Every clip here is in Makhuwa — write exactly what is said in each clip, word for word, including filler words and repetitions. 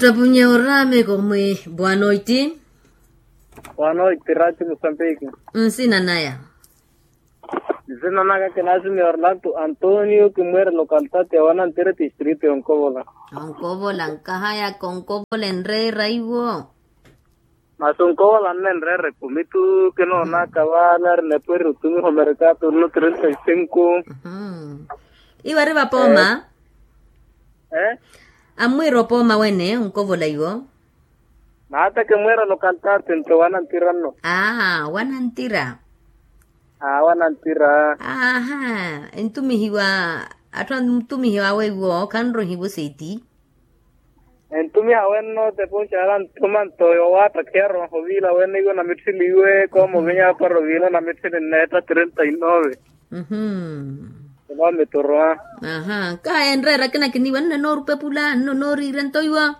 Tapunye oraame komwe. Boa noite. Boa noite rati musambiki. Nsina naya? Nsina naka kinasimya orlando antonio kimwere lokaltati ya wanantire tistrito yonkovola. Onkovola nkahayaka onkovola enreera iwo. Masi onkovola nnenreera ekumitu kinoonaka vale ari nepweri otumiha omerekato nno trenta y cinco. Iwe ari vapooma? Ammwiira opooma wene onkovola iwo. Naateke mwiira lokaltati nto wanantira nno. Aa wanantira. Aa wanantira. Aha. Entumihiwa atthu antumihiwa awe iwo khanrohiwa oseeti. Entumiha wenno tepunxala nthuma nto yowaattakhiyarwa oviila wene iwo namitthiliwe koomovinya apara oviila namitthili nneetta trenta y nove. Mhmm. Enomitoroa. Aha kaha enreera akina kiniiwa nno noorupepula nno nooriirya nto iwa.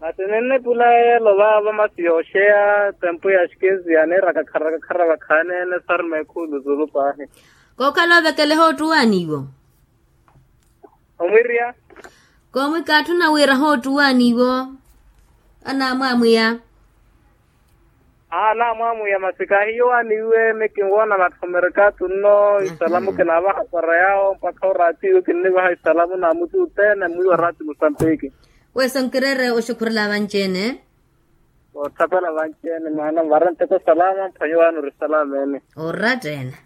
Masi ninnepula yeelo vaavo masi yooxeya tempu ya xikinzi yaniiraka khara khara vakhaneene saruma ekhuulu zulu paahi. Kookhala ovekeleha oottuwaani iwo. Omwirya. Koomwika atthu nawiiraha oottuwaani iwo. Anaamwaamwiya. Anaamwaamwiya masi kahiyo waaniiwe mikinwoona vatthu omerekato nno isalamu kinaavaha para yaawo mpakha oraatiiwe kinnivaha isalamu na mutu othene mwiiwa raati musambiki. Weso nkireere oxukhurela vanci-ene. Othapela vanci-ene maana vara nteko salama mphwanyi waani ori salama ene. Oratta ene.